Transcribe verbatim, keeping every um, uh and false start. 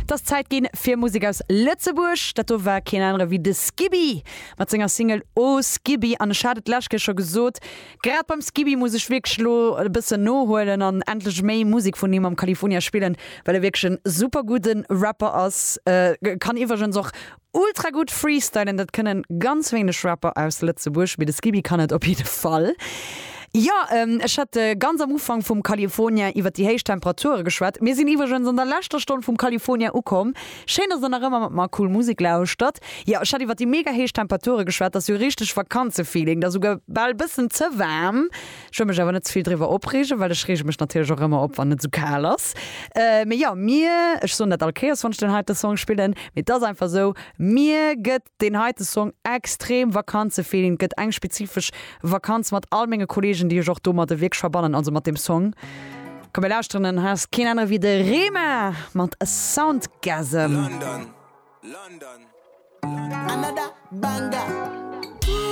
Et ass Zäit ginn fir Musek aus Lëtzebuerg. Dat do war keen anere wéi de Skiby mat senger Single Oh Skiby. An ech hat et d'lescht Kéier scho gesot, grad beim Skiby muss ech wierklech elo e bëssen nohuelen an endlech méi Musek vun him am California spillen, well e wierklech en super gudde Rapper ass. Kann iwwregens och ultra gutt freestylen, dat kënnen ganz wéineg Rapper aus Lëtzebuerg, mee de Skiby kann et op jidde Fall. Jo, ech hat ganz am Ufank vum California iwwer déi héich Temperature geschwat. Mir sinn iwwregens an der leschter Stonn vum California ukomm. Schéin, dass der nach ëmmer mat mer cool Musek lauschtert. Jo, ech hat iwwer déi mega héich Temperature geschwat. Dat ass jo richteg Vakanzefeeling. Dat ass souguer bal bëssen ze waarm. Ech wëll mech awer net ze vill driwwer opreegen, well ech reege mech natierlech och ëmmer op, wann et esou kal ass. Mee jo, mir, ech soen dat all Kéiers, wann ech den heite Song spillen, mee et ass einfach esou, mir gëtt deen heite Song extrem Vakanzefeeling, gëtt eng spezifesch Vakanz mat all menge Kollegen, déi ech och domadde wierklech verbannen, also mat deem Song. Komm mir lauschteren en, hei ass keen anere wéi de Rema mat Soundgasm. London, London, London. Another banger.